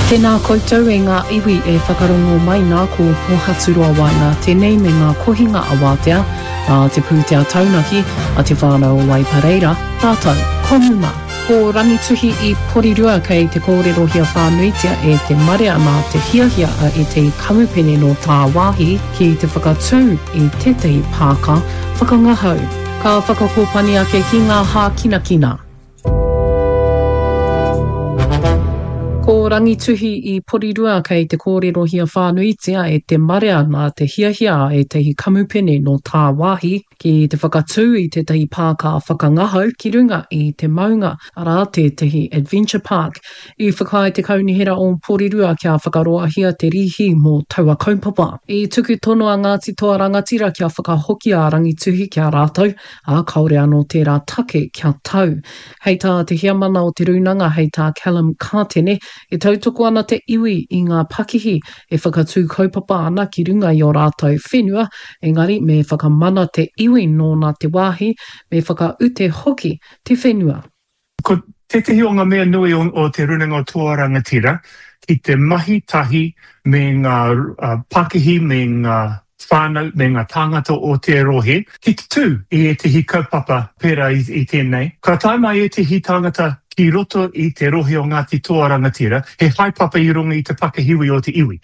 Tēnā koutou e ngā iwi e whakarongo mai nā ko Pōhaturoa Waenga tēnei me ngā kohinga awātea a te pūtea taunaki a Te Whānau o Waipareira rātou ko Muma. Ko Rangituhi i Porirua kei te kōrerohia whānuitia e te marea nā te hiahia a ētahi kamupene nō tāwāhi ki te whakatū i tētahi pāka whakangahau. Ka whakakōpani ake ki ngā hākinakina. Ko Rangituhi i Porirua kei te kōrerohia whānuitia e te marea nā te hiahia a ētahi kamupene nō tāwāhi ki te whakatū i tētahi pāka whakangahau ki runga i te maunga, arā, tētahi adventure park. I whakaae te Kaunihera o Porirua kia whakaroahia te rīhi mō taua kaupapa. I tuku tono a Ngāti Toa Rangatira kia whakahokia a Rangituhi ki a rātou, ā, kāore anō tērā take kia tau. Hei tā te heamana o te rūnanga, hei tā Callum Kātene, e tautoko ana te iwi i ngā pakihi e whakatū kaupapa ana ki runga i ō rātou whenua, engari me whakamana te iwi nōna te wāhi, me whakaute hoki te whenua. Ko tētehi o ngā mea nui o Te Rūnanga o Toa Rangatira ki te mahi tahi me ngā pakihi me ngā whānau me ngā tāngata o te rohe ki te tū i ētehi kaupapa pērā i tēnei. Ka tae mai ētehi tāngata ki roto i te rohe o Ngāti Toa Rangatira, he haepapa i runga i te pakihiwi o te iwi,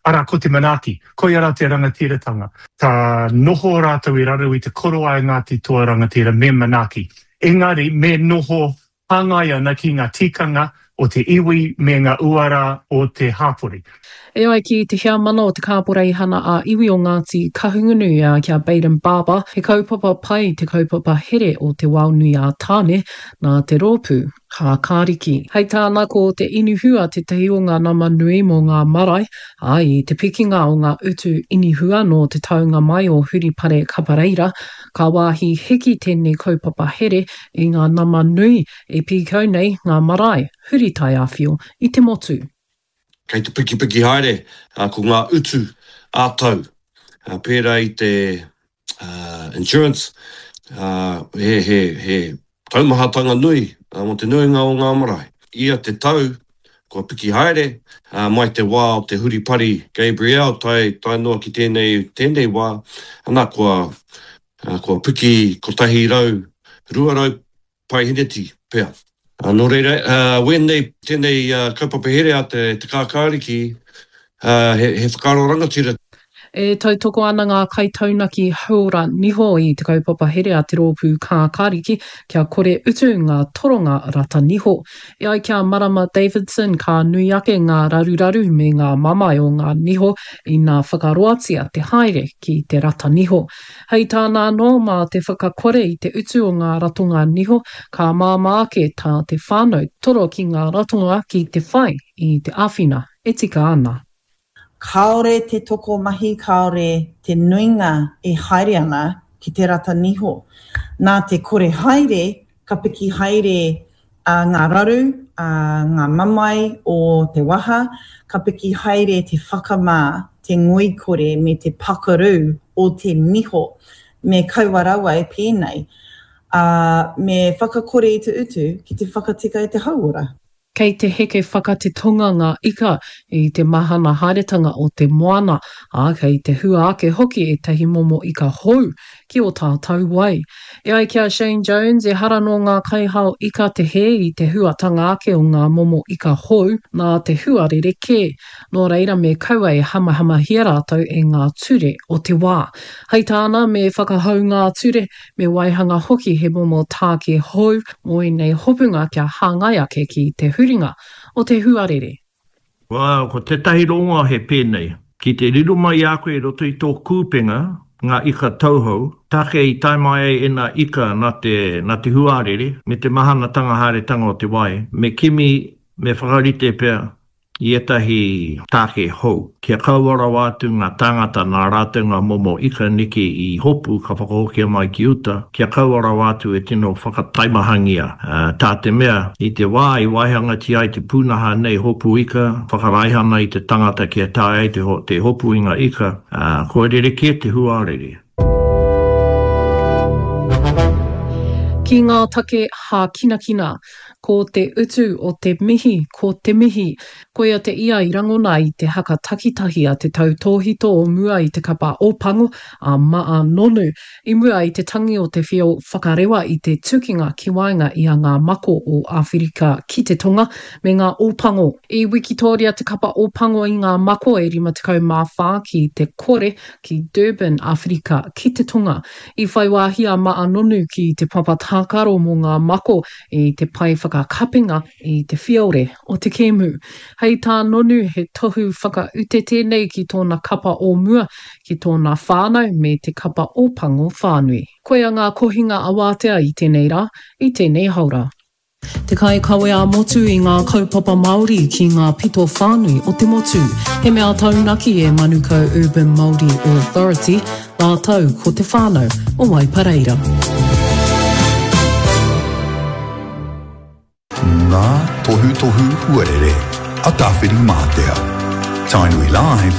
arā ko te manaaki, koia rā te rangatiratanga. Ka noho rātou i raro i te korowai Ngāti Toa Rangatira me manaaki. Engari me noho hāngai ana ki ngā tikanga o te iwi me ngā uara o te hāpori. E ai ki te heamana o te Kāporeihana ā-Iwi o Ngāti Kahungunu, ki a Bayden Barber, he kaupapa pai te kaupapa here o Te Wao Nui a Tāne nā te rōpū Kākāriki. Hei tāna ko te inihua tētahi o ngā nama nui mō ngā marae, ā, i te pikinga o ngā utu inihua nō te taunga mai o Huripare Kapareira, Ka wāhi hiki tēnei kaupapa here i ngā nama nui e pīkau nei ngā marae huri taiāwhio i te motu. Kei te pikipiki haere ko ngā utu ā-tau, pērā i te insurance, he Taumahatanga nui mō te nuinga o ngā marae. Ia te tau, kua piki haere, mai te wā o te huripari Gabrielle tae, tae noa ki tēnei, tēnei wā, ana, kua, kua piki 100, 200 paeheneti pea. Nō reira, wēnei, tēnei kaupapa here a te, te Kākāriki, he, he whakaaro rangatira. E tautoko ana ngā kaitaunaki hauora niho i te kaupapa here a te Rōpū Kākāriki kia kore utu ngā toronga rata niho. E ai ki a Marama Davidson ka nui ake ngā raruraru me ngā mamae o ngā niho ina whakaroatia te haere ki te rata niho. Hei tāna anō, mā te whakakore i te utu o ngā ratonga niho ka māmā ake tā te whānau toro ki ngā ratonga ki te whai i te āwhina e tika ana. Kāore te tokomahi, kāore te nuinga e haere ana ki te rata niho. Nā te kore haere, ka piki haere ngā raru, ngā mamae o te waha, ka piki haere te whakamā, te ngoikore me te pakaru o te niho. Me kaua rawa e pēnei. Ā, me whakakore i te utu ki te whakatika i te hauora. Kei te heke whakatetonga ngā ika i te mahana haeretanga o te moana, ā, kei te hua ake hoki ētahi momo ika hou ki ō tātou wai. E ai ki a Shane Jones, ehara nō ngā kaihao ika te hē i te huatanga ake o ngā momo ika hou nā te huarere kē. Nō reira me kaua e hamahamahia rātou e ngā ture o te wā. Hei tāna, me whakahou ngā ture, Me waihanga hoki he momo tāke hou mō ēnei hopunga kia hāngai ake ki te huringa o te huarere. Ko tētahi rongoa he pēnei, ki te riro mai i a koe i roto i tō kūpenga ngā ika tauhou, take i tae mai ai ēnā ika nā te, nā te huarere me te mahanatanga haeretanga o te wai, me kimi, me whakarite pea i ētahi tāke hou, kia kaua rawa atu ngā tāngata nā rātou ngā momo ika neke i hopu ka whakahokia mai ki uta, kia kaua rawa atu e tino whakataimahangia, tā te mea, i te wā i waihangatia ai te pūnaha nei hopu ika, whakaraihana i te tangata kia taea ai te hopu i ngā ika, kua rerekē te huarere. Ki ngā take hākinakina. Ko te utu o te mihi, ko te mihi. Koia te ia i rangona i te haka takitahi a te tautōhito o mua i te kapa Ōpango, a Maa Nonu, i mua i te tangi o te whio whakarewa i te tukinga ki waenga i a Ngā Mako o Āwherika ki te Tonga me ngā Ōpango. I wikitōria te kapa Ōpango i Ngā Mako e 54 ki te kore ki Durban, Āwherika ki te Tonga. I whai wāhi a Maa Nonu ki te papa tākaro mō Ngā Mako i te pae whakakapenga i te whiore o te kēmu. Hei tā Nonu he tohu whakaute tēnei ki tōna kapa o mua, ki tōna whānau me te kapa Ōpango whānui. Koia ngā kohinga awātea i tēnei rā, i tēnei haora. Te kaikawe ā-motu i ngā kaupapa Māori ki ngā pito whānui o te motu. He mea taunaki e Manukau Urban Māori Authority rātou ko te whānau o Waipareira. Ngā tohutohu huarere a Tāwhirimātea. Tainui Live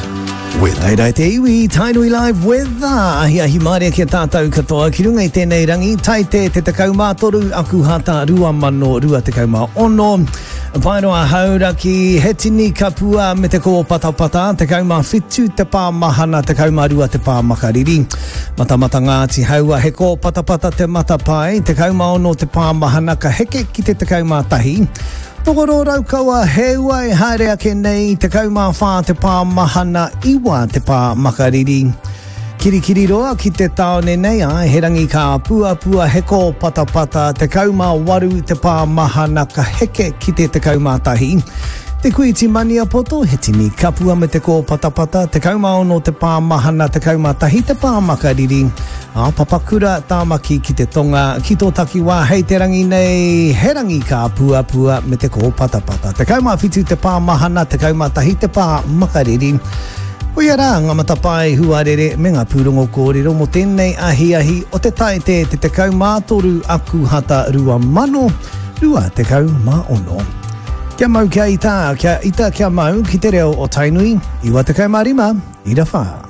with. Haere te iwi, Tainui Live with Ahiahi mārie ki a tātou katoa ki runga i tēnei rangi, Taite te 13, Akuhata 2026. Paeroa Hauraki, he tini kapua me te kōpatapata, 17 te pā mahana, 12 te pā makariri. Matamata Ngāti Haua, he kōpatapata te matapae, 16 te pā mahana ka heke ki te 11. Tokoro Raukawa, he ua e haere ake nei, 14 te pā mahana, 9 te pā makariri. Kirikiriroa ki te tāone nei, āe, he rangi ka puapua, he kōpatapata, 18 te pā mahana ka heke ki te 11. Te Kuiti Maniapoto, he tini kapua me te kōpatapata, 16 te pā mahana, 11 te pā makariri. Ā, Papakura, Tāmaki ki te tonga, ki tō takiwā hei te rangi nei, he rangi ka puapua me te kōpatapata. 17 te pā mahana, 11 te pā makariri. Koia rā ngā matapae huarere me ngā pūrongo kōrero mō tēnei ahiahi o te Taite te 13 Akuhata 2026. Kia mau kia ita, kia ita kia mau ki te reo o Tainui, 95 ira wha.